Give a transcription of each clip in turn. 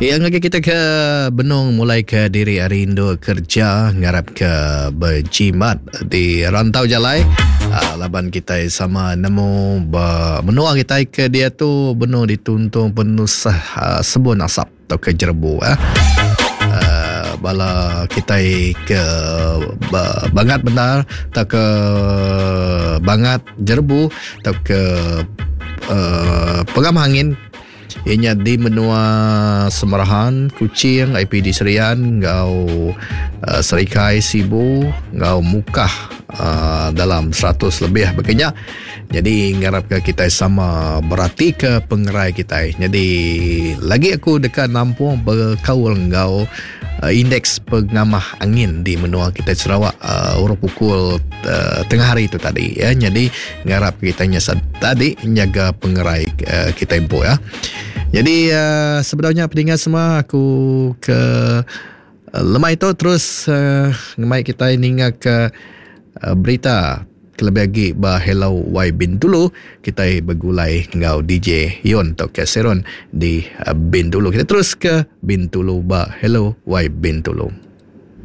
Iya ngagai kita ke benung mulai ke diri ari indu kerja ngarap ke bejimat di rantau jalai uh, laban kita sama nemu ba menua kita ke diatu benung dituntung penusah uh, sebun asap atau ke jerebu eh. Uh, bala kita ke bangat bendar atau ke bangat jerebu atau ke uh, pengam angin Iya nya di menua Semerahan, Kuching, IPD Serian enggau uh, Serikai, Sibu enggau Mukah uh, dalam 100 lebih baka nya. Jadi ngarapka kitai sama beratika pengerai kitai. Jadi lagi aku deka nampung bekaul enggau uh, indeks pengamah angin di menua kitai Sarawak uh, urung pukul uh, tengah hari tu tadi ya. Jadi Ngarap kita nya tadi nyaga pengerai uh, kita empu ya. Jadi uh, sebedau nya peninga semua aku ke uh, lemai tu terus uh, ngemai kita ninga ke uh, berita kelebih agi ba Hello Y Bintulu kita begulai enggau DJ Yon atau ke Seron di uh, Bintulu. Kita terus ke Bintulu ba Hello Y Bintulu.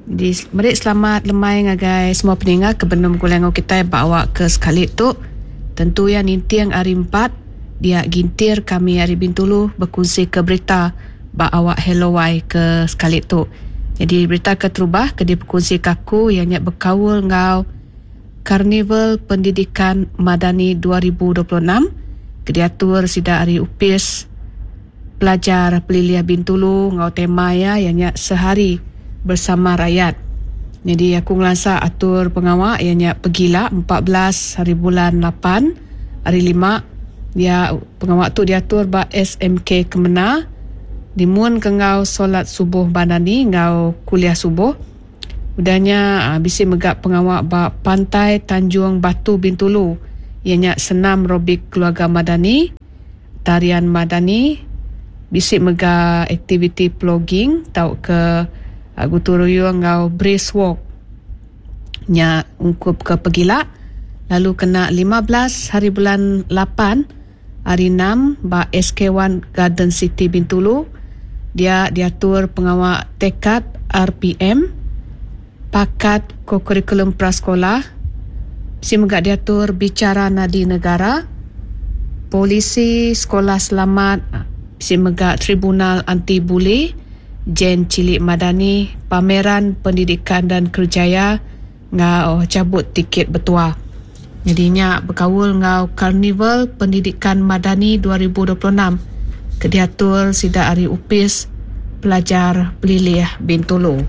Di meri selamat lemai ngagai semua peninga ke benung begulai enggau kitai ba awak ke sekali tu. Tentu iya ninting hari empat dia gintir kami ari Bintulu bekunsika berita ba awak Hello Wai ke sekali tu. Nyadi berita keterubah ke dipekunsika aku iya nya bekaul enggau Karnival Pendidikan Madani 2026 ke diatur sida ari Opis Pelajar Pelilih Bintulu enggau tema iya iya nya Sehari Bersama Rakyat. Nyadi aku ngelansa atur pengawa iya nya pegila 14 hari bulan lapan hari lima dia pengawa tu diatur ba SMK Kemena dimun ke enggau solat subuh Bandani enggau kuliah subuh. Udah nya bisi mega pengawa ba Pantai Tanjung Batu Bintulu iya nya senam robik keluarga Madani. Tarian Madani, bisi mega aktiviti plogging tauka gutu ruyung enggau brisk walk nya ungkup ke pegila lalu kena 15 hari bulan lapan hari enam ba SK One Garden City Bintulu dia diatur pengawa Tekad RPM Pakat Kokurikulum Prasekolah, bisi mega diatur Bicara Nadi Negara, Polisi Sekolah Selamat, bisi mega Tribunal Anti Buli, Jen Cilik Madani, Pameran Pendidikan dan Kerjaya enggau Chabut Tiket Betua. Nyadi nya bekaul enggau Karnival Pendidikan Madani 2026 ke diatur sida ari Opis Pelajar Pelilih Bintulu.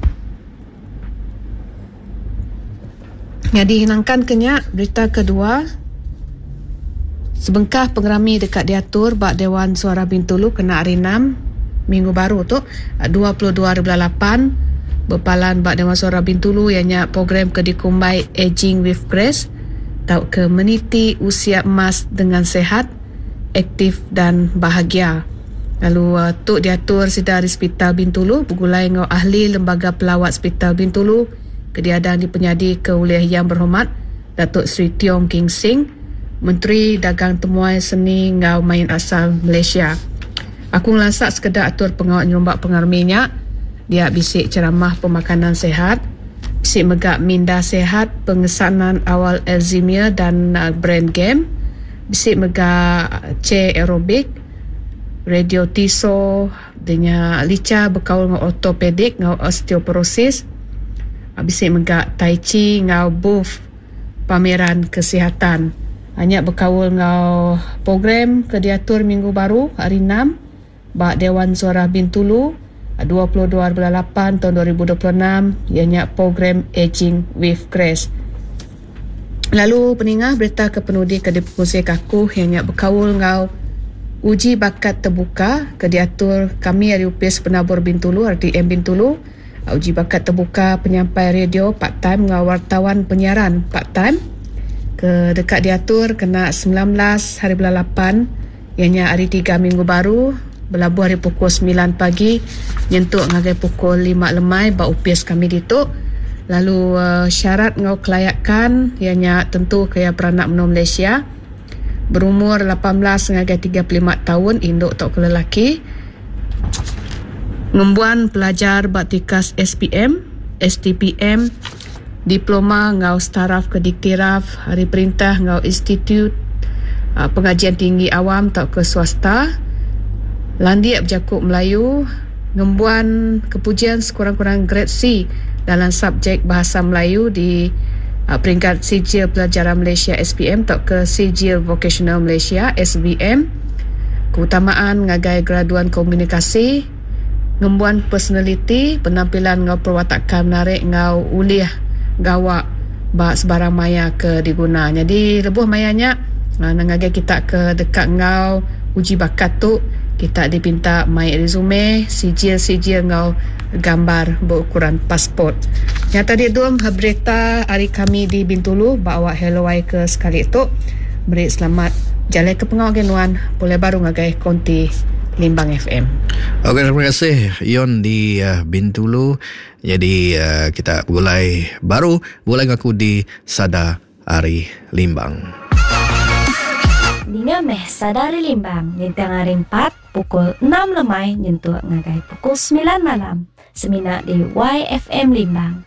Nyadi nangkan ke nya, berita kedua, sebengkah pengerami deka diatur ba Dewan Suarah Bintulu kena hari Enam minggu baru tu, 22 hari bulan lapan, bepalan ba Dewan Suarah Bintulu iya nya program ke dikumbai Aging with Grace tauka Meniti Usia Emas Dengan Sehat, Aktif dan Bahagia. Lalu tu diatur sida ari Sepital Bintulu begulai enggau ahli Lembaga Pelawat Sepital Bintulu ke diadang dipenyadika ulih Yang Berhormat Datuk Seri Tiong King Sing, Menteri Dagang Temuai Seni enggau Main Asal Malaysia. Aku ngelansa sekeda atur pengawa nyerumba pengerami nya dia bisi ceramah pemakanan sihat, bisi mega minda sihat, pengesanan awal Alzheimer dan brain game, bisi mega chair aerobik, radio tiso dinya licha bekaul enggau ortopedik enggau osteoporosis, bisi mega tai chi enggau booth pameran kesihatan. Nya bekaul enggau program ke diatur minggu baru hari Enam ba Dewan Suarah Bintulu 22 bulan lapan taun 2026 iya nya program Aging with Grace. Lalu peningah berita ke penudi ke dipekongsi aku iya nya bekaul enggau uji bakat tebuka ke diatur kami ari Opis Penabur Bintulu RTM Bintulu. Uji bakat tebuka penyampai radio part time enggau wartawan penyiaran part time ke deka diatur kena 19 hari bulan lapan iya nya hari tiga minggu baru belabuh ari pukul semilan pagi nyentuk ngagai pukul lima lemai ba opis kami ditu lalu syarat enggau kelayakan iya nya tentu ke iya peranak menua Malaysia berumur 18 ngagai 35 taun indu tauka lelaki. Ngembuan pelajar ba tikas SPM, STPM, Diploma enggau Setaraf ke diktiraf ari perintah enggau institut pengajian tinggi awam tauka swasta, landik bejaku Melayu, ngembuan kepujian sekurang-kurang gred C dalam subjek Bahasa Melayu di peringkat Sijil Pelajaran Malaysia, SPM, tauka Sijil Vokasional Malaysia, SVM, keutamaan ngagai graduan komunikasi, ngembuan personaliti, penampilan enggau perwatakan menarik enggau ulih gawa ba sebarang maya ke diguna. Nyadi lebuh maya nya ngagai kita ke deka enggau uji bakat tu, kita dipinta mai resume, sijil-sijil enggau gambar beukuran pasport. Nya tadi dum berita ari kami di Bintulu ba awak Hello Wai ke sekali tu. Meri selamat jalai ke pengawa agi nuan pulai baru ngagai konti Limbang FM. Okey terima kasih Yon di Bintulu. Jadi kita begulai baru begulai enggau aku di Sada Ari Limbang. Ninga meh Sada Ari Limbang ninting hari empat pukul enam lemai nyentuk ngagai pukul semilan malam semina di YFM Limbang.